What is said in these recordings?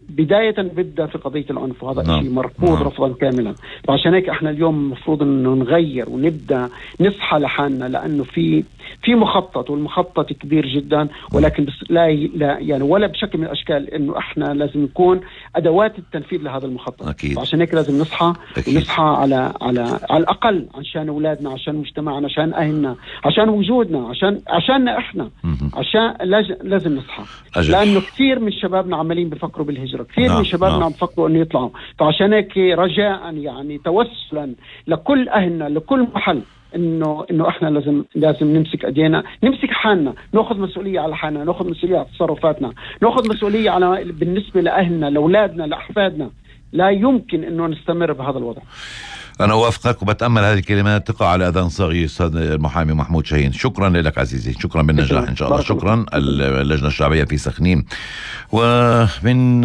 بداية بدأ في قضية العنف، وهذا شيء مرفوض رفضا كاملا. فعشان هيك احنا اليوم المفروض انه نغير ونبدأ نصحى لحالنا، لانه في مخطط، والمخطط كبير جدا، ولكن بس لا يعني ولا بشكل من الاشكال انه احنا لازم نكون ادوات التنفيذ لهذا المخطط. أكيد. فعشان هيك لازم نصحى ونصحى على الاقل عشان اولادنا، عشان مجتمعنا، عشان اهلنا، عشان وجودنا، عشاننا احنا، عشان لازم نصحى. لانه كثير من شبابنا عمالين بيفكروا بالهجرة، كثير من شبابنا عم بفكروا انه يطلعوا. فعشان هيك رجاء يعني توسلا لكل اهلنا، لكل محل، انه احنا لازم نمسك ايدينا، نمسك حالنا، ناخذ مسؤوليه على حالنا، ناخذ مسؤوليه على تصرفاتنا، ناخذ مسؤوليه على بالنسبه لاهلنا، لاولادنا، لاحفادنا. لا يمكن انه نستمر بهذا الوضع. أنا أوافقك وبتأمل هذه الكلمات تقع على أذان صاغي. أستاذ المحامي محمود شاهين، شكرا لك عزيزي، شكرا بالنجاح إن شاء الله. شكرا. اللجنة الشعبية في سخنين. ومن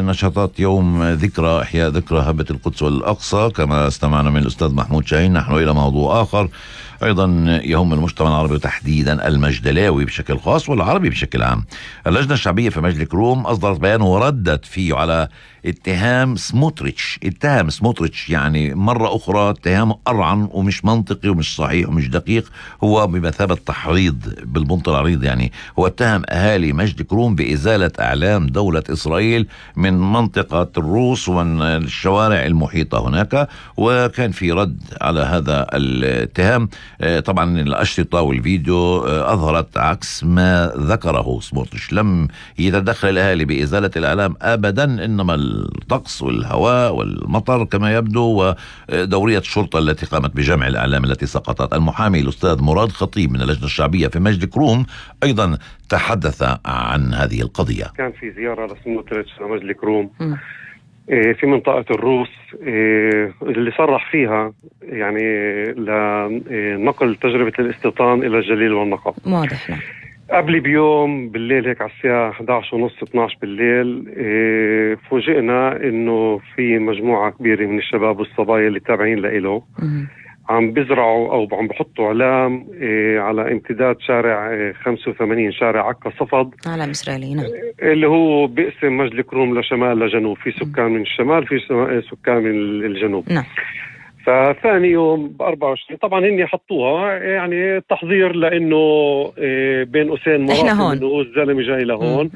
نشاطات يوم ذكرى إحياء ذكرى هبة القدس والأقصى، كما استمعنا من الأستاذ محمود شاهين، نحن إلى موضوع آخر أيضا يهم المجتمع العربي، وتحديدا المجدلاوي بشكل خاص والعربي بشكل عام. اللجنة الشعبية في مجلس كروم أصدرت بيان وردت فيه على اتهام سموتريتش يعني مرة أخرى اتهام أرعن ومش منطقي ومش صحيح ومش دقيق. هو بمثابة تحريض بالبنط العريض، يعني هو اتهم أهالي مجد كروم بإزالة أعلام دولة إسرائيل من منطقة الروس ومن الشوارع المحيطة هناك، وكان في رد على هذا الاتهام. طبعا الأشرطة والفيديو أظهرت عكس ما ذكره سموتريتش. لم يتدخل الأهالي بإزالة الأعلام أبدا، إنما الطقس والهواء والمطر كما يبدو، ودورية الشرطة التي قامت بجمع الأعلام التي سقطت. المحامي الأستاذ مراد خطيب من اللجنة الشعبية في مجد كروم أيضا تحدث عن هذه القضية. كان في زيارة لسموتريتش لمجد كروم في منطقة الروس، اللي صرح فيها يعني لنقل تجربة الاستيطان إلى الجليل والنقب. واضح. قبل بيوم بالليل هيك على الساعة 11:30-12 بالليل فوجئنا انه في مجموعة كبيرة من الشباب والصبايا اللي تابعين لإله عم بزرعوا او عم بحطوا علام على امتداد شارع 85، شارع عكا صفد، علم إسرائيلي، نعم، اللي هو بيقسم مجد كروم لشمال لجنوب، في سكان من الشمال، في سكان من الجنوب. نعم. فثاني يوم ب24 طبعا هني حطوها يعني تحضير، لانه بين قوسين مراسم انه الزلمه جاي لهون،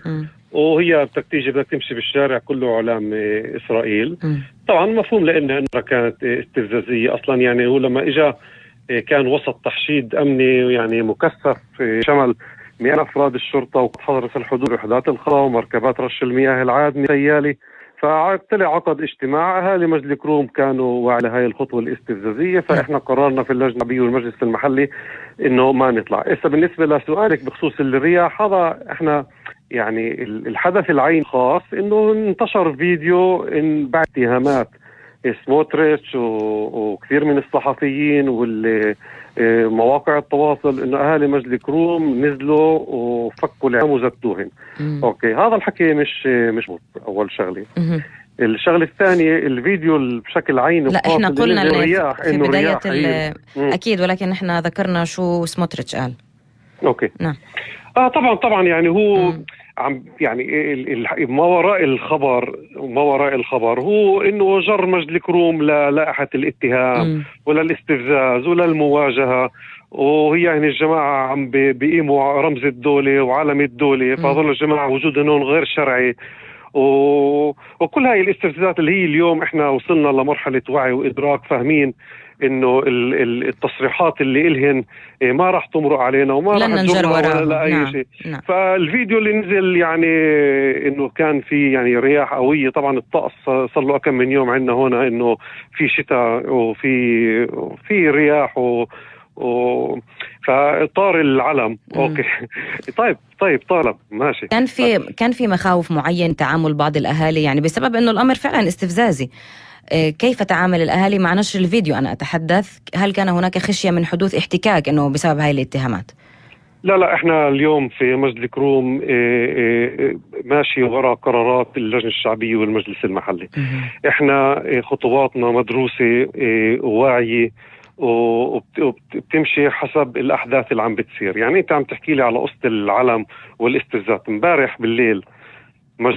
وهي بدك تيجي بدك تمشي بالشارع كله علام اسرائيل. طبعا مفهوم لانها كانت استفزازيه اصلا. يعني هو لما اجى كان وسط تحشيد امني يعني مكثف، شمل 100 افراد الشرطه وحضرت الحدود وحدات الخلا ومركبات رش المياه العادمه سيالي. فطلع عقد اجتماع اهالي مجد كروم كانوا على هاي الخطوه الاستفزازيه، فاحنا قررنا في اللجنه الشعبيه والمجلس المحلي انه ما نطلع. بالنسبه لسؤالك بخصوص الرياح، هذا احنا يعني الحدث العين خاص انه انتشر فيديو ان بعد اتهامات سموتريتش وكثير من الصحفيين والمواقع التواصل انه اهالي مجد كروم نزلوا وفكوا العلام وزتوهن. اوكي، هذا الحكي مش مظبوط. اول شغله. الشغله الثانيه الفيديو بشكل عيني، لا احنا قلنا في بدايه اكيد، ولكن احنا ذكرنا شو سموتريتش قال. اوكي. نعم. طبعا يعني هو عم يعني ما وراء الخبر هو انه جر مجد كروم للائحة الاتهام ولا الاستفزاز ولا المواجهة، وهي يعني الجماعة عم بيقيموا رمز الدولة وعلم الدولة، فهذول الجماعة وجودهم هون غير شرعي، وكل هاي الاستفزازات اللي هي اليوم احنا وصلنا لمرحلة وعي وإدراك، فاهمين انه التصريحات اللي إلهن ما راح تمرق علينا وما راح تجرنا ولا اي شيء. نعم. فالفيديو اللي نزل يعني انه كان في يعني رياح قوية، طبعا الطقس صار له كم من يوم عندنا هنا انه في شتاء وفي رياح فطار العلم. اوكي. طيب طالب ماشي. كان في مخاوف معين تعامل بعض الاهالي يعني بسبب انه الامر فعلا استفزازي. كيف تعامل الأهالي مع نشر الفيديو؟ أنا أتحدث، هل كان هناك خشية من حدوث احتكاك إنه بسبب هاي الاتهامات؟ لا احنا اليوم في مجلس كروم ماشي وراء قرارات اللجنة الشعبية والمجلس المحلي. احنا خطواتنا مدروسة وواعية وبتمشي حسب الأحداث اللي عم بتصير. يعني انت عم تحكي لي على قصة العلم والاستفزازات. امبارح بالليل مجموعة